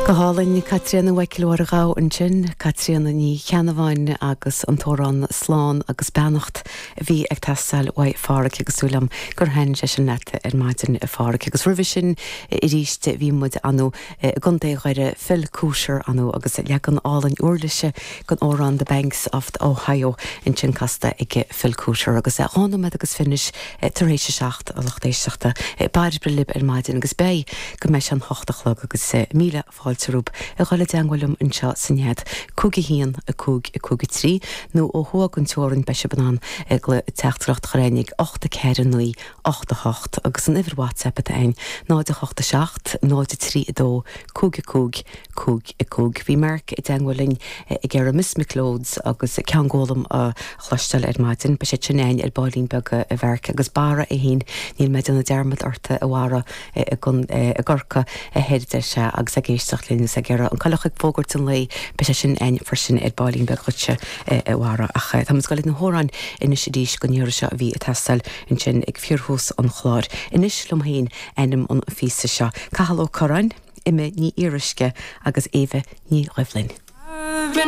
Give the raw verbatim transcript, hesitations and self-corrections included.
Go hálainn Caitríona Mhichíl Mháire Ghabha ansin, Caitríona Ní Cheannabháin agus an t-amhrán slán agus beannacht a bhí ag teastáil uaidh Pháraic agus súil agam gur thaitin sé sin leat ar maidin a Pháraic agus roimhe sin arís bhí muid ann i gContae Dhoire Phil Cooter ann agus leagan álainn uirlise den amhrán The Banks of the Ohio ansin casta ag Phil Cooter agus dhá nóiméad agus fiche tar éis a seacht a lucht éisteachta Bairbre libh ar maidin agus beidh go mbeidh sé an hocht a chlog agus míle fáilte romhaibh a dhul i dteagmháil liom anseo san nead cúig a haon a cúig a cúig a trí nó ó thuaidh den teorainn beidh sibh in ann teachtaireacht a chur ag ocht a ceathair naoi ocht a hocht agus an uimhir WhatsApp atá ann náid a hocht a seacht náid a trí a dó cúig a cúig cúig a cúig. Bhí Mark i dteagmháil linn ag iarraidh Miss McLeod's agus ceann gólam a chloisteáil ar maidin, beidh sé sin ann ar baillín beag a Mhark agus Barra é féin níl mé ag déanamh dearmad ort a Bharra i gCorcaigh a thoir sé agus ag éisteacht linn ag iarraidh an coileach ag fógairt an lae beidh sé sin ann freisin ar baillín beag dhuitse a Bharra ach tá muid ag dul na hamhráin anois arís don iarraidh seo a bhí ag teastáil ansin ag fíorthús an chláir. Anois liom féin ainm an phíosa seo. Cathal Ó Curráin, Emma Ní Fhíoruisce agus Éabha Ní Dhoibhlin.